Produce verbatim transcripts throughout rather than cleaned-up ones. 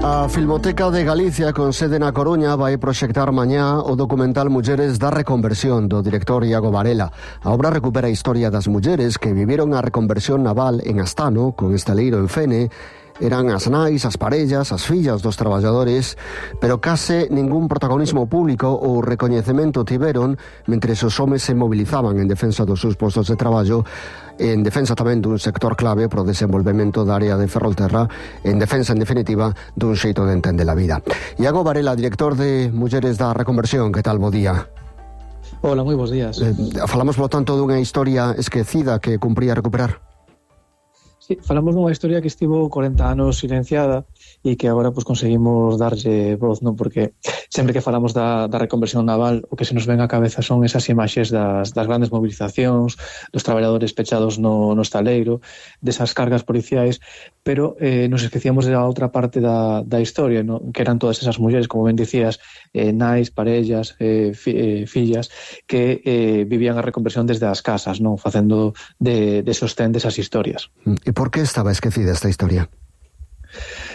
A Filmoteca de Galicia, con sede na Coruña, vai proxectar mañá o documental Mulleres da Reconversión, do director Iago Varela. A obra recupera a historia das mulleres que viviron a reconversión naval en Astano, con estaleiro en Fene. Eran as nais, as parellas, as fillas dos traballadores, pero case ningún protagonismo público ou recoñecemento tiveron mentre os homes se movilizaban en defensa dos seus postos de traballo, en defensa tamén dun sector clave pro desenvolvemento da área de Ferrolterra, en defensa, en definitiva, dun xeito de entender a vida. Iago Varela, director de Mulleres da Reconversión, que tal, bo día? Hola, moi bons días. Eh, falamos, por tanto, dunha historia esquecida que cumpría recuperar? Sí, falamos dunha historia que estivo corenta anos silenciada e que agora pues, conseguimos darlle voz, non? Porque sempre que falamos da, da reconversión naval, o que se nos ven á cabeza son esas imaxes das, das grandes movilizacións, dos traballadores pechados no, no estaleiro, desas cargas policiais, pero eh, nos esquecíamos da outra parte da, da historia, non? Que eran todas esas mulleres, como ben dicías, eh, nais, parellas, eh, fi, eh, fillas, que eh, vivían a reconversión desde as casas, non? Facendo de, de sostén desas historias. E por que estaba esquecida esta historia?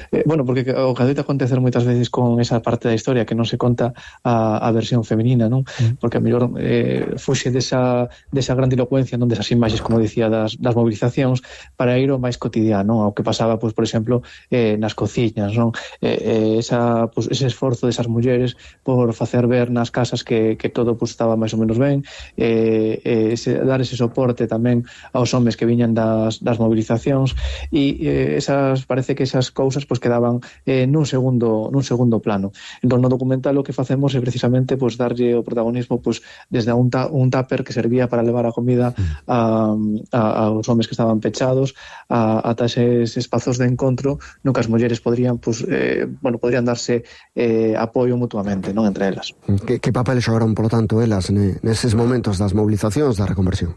Eh, bueno, porque o que adoita acontecer moitas veces con esa parte da historia que non se conta a, a versión feminina, non? Mm. Porque a mellor eh, fuxe desa, desa grandilocuencia, non? Desas imaxes, como dicía, das, das movilizacións, para ir ao máis cotidiano, ao que pasaba, pues, por exemplo, eh, nas cociñas, non? Eh, eh, esa, pues, ese esforzo desas mulleres por facer ver nas casas que, que todo pues, estaba máis ou menos ben, eh, eh, ese, dar ese soporte tamén aos homes que viñan das, das movilizacións, e eh, esas, parece que esas cousas pues, quedaban eh, nun segundo nun segundo plano. Entón, no documental o que facemos é precisamente pues, darlle o protagonismo pues, desde un, ta, un tupper que servía para levar a comida a, a, aos homes que estaban pechados, a, ata eses espazos de encontro no que as mulleres podrían pues, eh, bueno, podrían darse eh, apoio mutuamente, non, entre elas. Que, que papel xogaron, por tanto, elas neses momentos das movilizacións da reconversión?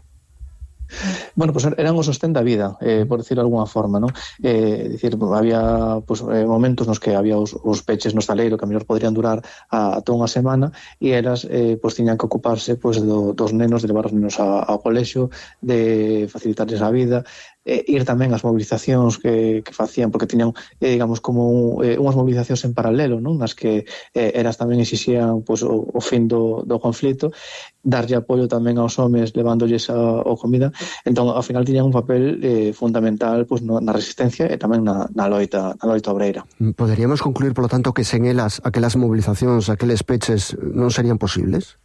Bueno, pues eran o sostén da vida, eh, por decirlo de alguna forma, ¿no? Eh, decir, había pues, eh, momentos nos que había os, os peches no estaleiro que a mellor podrían durar a, a toda unha semana e elas eh, pues, tiñan que ocuparse pues, do, dos nenos, de levar os nenos a, ao colexio, de facilitarles a vida, eh, ir tamén ás movilizacións que, que facían, porque tiñan, eh, digamos, como un, eh, unhas movilizacións en paralelo, non? Nas que eh, elas tamén exixían pues, o, o fin do, do conflito, darlle apoio tamén aos homes levándolles a, a comida. Entón, ao final tiñan un papel eh, fundamental pues, no, na resistencia e tamén na, na loita na loita obreira. Poderíamos concluir, polo tanto, que sen elas, aquelas movilizacións, aqueles peches non serían posibles?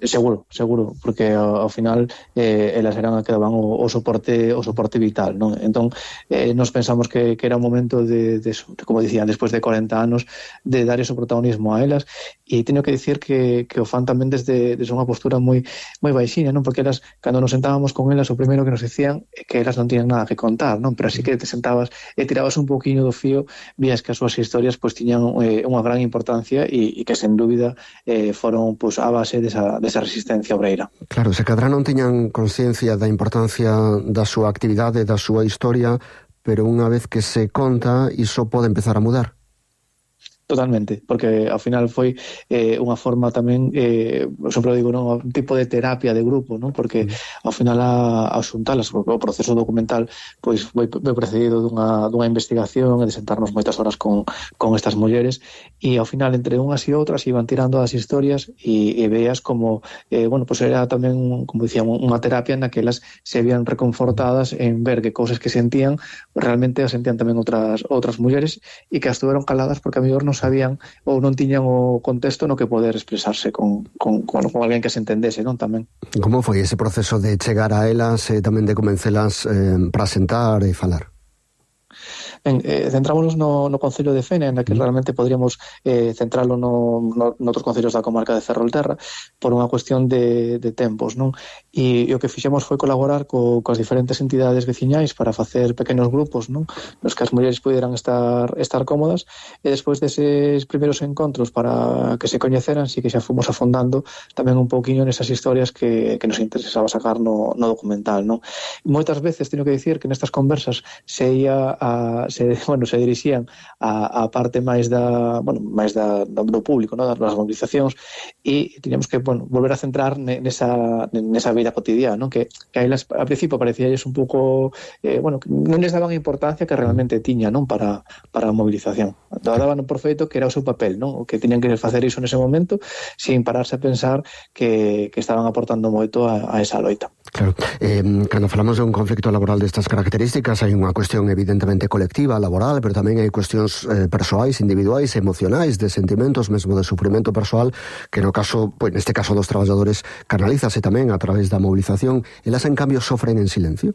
Seguro, seguro, porque ao, ao final eh, elas eran a que daban o, o soporte o soporte vital, non? Entón, eh, nos pensamos que, que era un momento de, de, de, como dicían, despois de corenta anos, de dar ese protagonismo a elas, e teño que dicir que, que o fan tamén desde, desde unha postura moi moi baixinha, non? Porque elas, cando nos sentábamos con elas, o primeiro que nos dicían é que elas non tiñan nada que contar, non? Pero así que te sentabas e tirabas un poquinho do fío, vías que as súas historias pues, tiñan eh, unha gran importancia e, e que, sen dúbida, eh, foron pues, a base desa desa resistencia obreira. Claro, se cadra non tiñan consciencia da importancia da súa actividade, da súa historia, pero unha vez que se conta, iso pode empezar a mudar. Totalmente, porque ao final foi eh, unha forma tamén, eh, sempre digo, non, un tipo de terapia de grupo, non? Porque mm. ao final a, a xuntalas, o proceso documental pois foi, foi precedido dunha, dunha investigación e de sentarnos moitas horas con, con estas mulleres, e ao final entre unhas e outras iban tirando as historias e, e veas como eh, bueno, pues era tamén, como dicían, unha terapia na que elas se vían reconfortadas en ver que cousas que sentían realmente as sentían tamén outras outras mulleres e que as tuveron caladas porque a mellor non sabían ou non tiñan o contexto no que poder expresarse con, con, con, con alguén que se entendese, non? Tamén. Como foi ese proceso de chegar a elas e tamén de convencelas eh, para sentar e falar? Ben, eh, centrámonos no, no Concello de Fene, na que realmente podríamos eh, centralo no, no, noutros concellos da comarca de Ferrolterra por unha cuestión de, de tempos, non? E, e o que fixemos foi colaborar co, coas diferentes entidades veciñais para facer pequenos grupos, non? Nos que as mulleres puderan estar estar cómodas, e despois deses primeiros encontros para que se coñeceran, si que xa fomos afondando tamén un pouquiño nesas historias que, que nos interesaba sacar no, no documental, non? Moitas veces teño que dicir que nestas conversas se ia a a, se, bueno, se dirixían a, a parte máis da, bueno, máis da, do público, ¿no? Das movilizacións, e tiñamos que, bueno, volver a centrar nesa, nesa vida cotidiana, ¿no? Que, que a elas, a principio parecíalles un pouco, eh, bueno, que non les daban a importancia que realmente tiña, ¿no? Para, para a movilización. Daban por feito que era o seu papel, ¿no? Que tiñan que facer iso nese momento sin pararse a pensar que, que estaban aportando moito a, a esa loita. Claro, eh, cando falamos de un conflicto laboral destas características hai unha cuestión evidentemente colectiva, laboral, pero tamén hai cuestións eh, persoais, individuais, emocionais, de sentimentos, mesmo de sufrimento persoal, que no caso, pues, neste caso dos traballadores canalízase tamén a través da movilización. Elas en cambio sofren en silencio?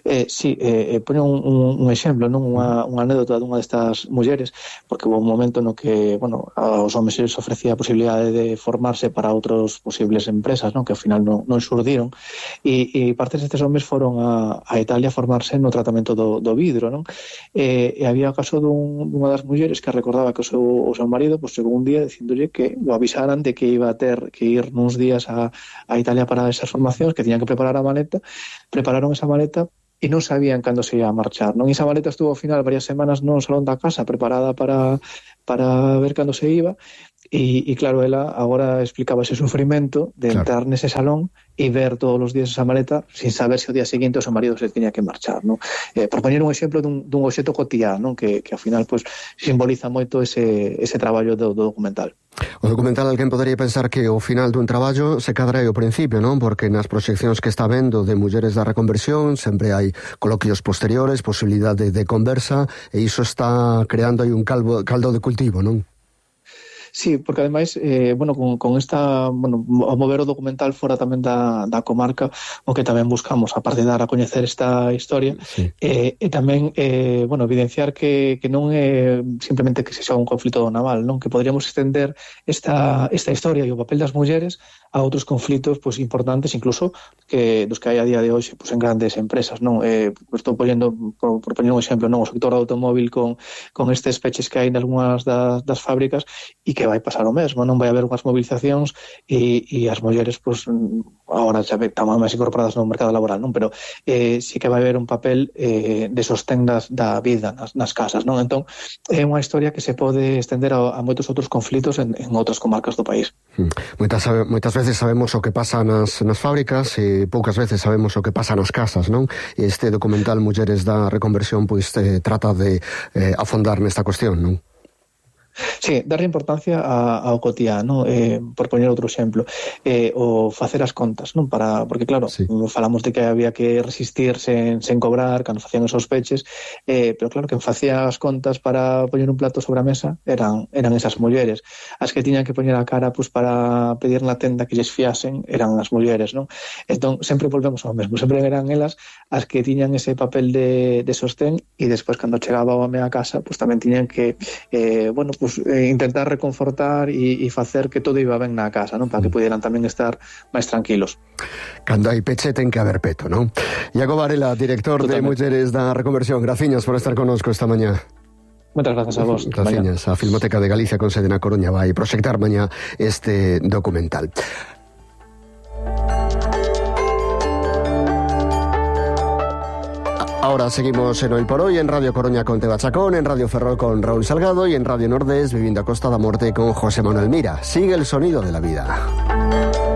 Eh, sí, eh, poño un, un, un exemplo, non unha, unha anécdota dunha destas mulleres, porque houve un momento no que, bueno, aos homens se ofrecía a posibilidade de formarse para outros posibles empresas, non, que ao final non, non xurdiron, e, e partes destes homens foron a, a Italia a formarse no tratamento do, do vidro, non? E, e había o caso dun, dunha das mulleres que recordaba que o seu, o seu marido, pues, chegou un día dicíndolle que o avisaran de que iba a ter que ir nuns días a, a Italia para esas formacións, que tiñan que preparar a maleta. Prepararon esa maleta e non sabían cando se ia a marchar, non? E esa maleta estuvo ao final varias semanas no salón da casa preparada para, para ver cando se iba, e, e claro, ela agora explicaba ese sufrimento de claro. Entrar nese salón e ver todos os días esa maleta sin saber se o día seguinte o seu marido se tiña que marchar, non? Eh, por poñer un exemplo dun, dun obxecto cotidiano, non? Que, que ao final pues, simboliza moito ese, ese traballo do, do documental. O documental, alguén podería pensar que o final dun traballo se cadra ao principio, non? Porque nas proxeccións que está vendo de mulleres da reconversión sempre hai coloquios posteriores, posibilidade de conversa, e iso está creando aí un caldo, caldo de cultivo, non? Sí, porque ademais, eh, bueno, con, con esta, bueno, ao mover o documental fora tamén da, da comarca, o que tamén buscamos, aparte de dar a coñecer esta historia, sí. eh, e tamén, eh, bueno, evidenciar que, que non é simplemente que se xa un conflito naval, non? Que podríamos extender esta, esta historia e o papel das mulleres a outros conflitos, pues, importantes, incluso que dos que hai a día de hoxe, pues, en grandes empresas, non? Eh, pues, estou poñendo, por, por poñer un exemplo, non? O sector do automóvil con, con estes peches que hai en algunhas das, das fábricas, e que vai pasar o mesmo, non? Vai haber unhas movilizacións e, e as mulleres, pues, agora xa están máis incorporadas no mercado laboral, non? Pero eh, sí que vai haber un papel eh, de sostén das, da vida nas, nas casas, non? Entón, é unha historia que se pode estender a, a moitos outros conflitos en, en outras comarcas do país. Hmm. Moitas, moitas veces sabemos o que pasa nas, nas fábricas e poucas veces sabemos o que pasa nas casas, non? E este documental Mulleres da Reconversión, pois, eh, trata de eh, afondar nesta cuestión, non? Sí, darle importancia a, ao cotidiano, eh, por poñer outro exemplo, eh, o facer as contas, non? Para, porque claro, sí. Falamos de que había que resistir sen, sen cobrar cando facían esos peches, eh, pero claro, que facía as contas para poñer un plato sobre a mesa eran, eran esas mulleres. As que tiñan que poñer a cara, pues, para pedir na tenda que lles fiasen eran as mulleres, non? Entón, sempre volvemos ao mesmo, sempre eran elas as que tiñan ese papel de, de sostén, e despois, cando chegaba o home a casa, pues, tamén tiñan que, eh, bueno, pues, Pues, eh, intentar reconfortar e, e facer que todo iba ben na casa, non? Para que pudieran tamén estar máis tranquilos. Cando hai peche ten que haber peto, non? Iago Varela, director Totalmente. de Mulleres da Reconversión, graciñas por estar connosco esta mañá. Moitas grazas a vos. Graciñas. A Filmoteca de Galicia con sede na Coruña vai proxectar mañá este documental. Ahora seguimos en Hoy por Hoy, en Radio Coruña con Teba Chacón, en Radio Ferrol con Raúl Salgado y en Radio Nordés Viviendo a Costa da Morte con José Manuel Mira. Sigue el sonido de la vida.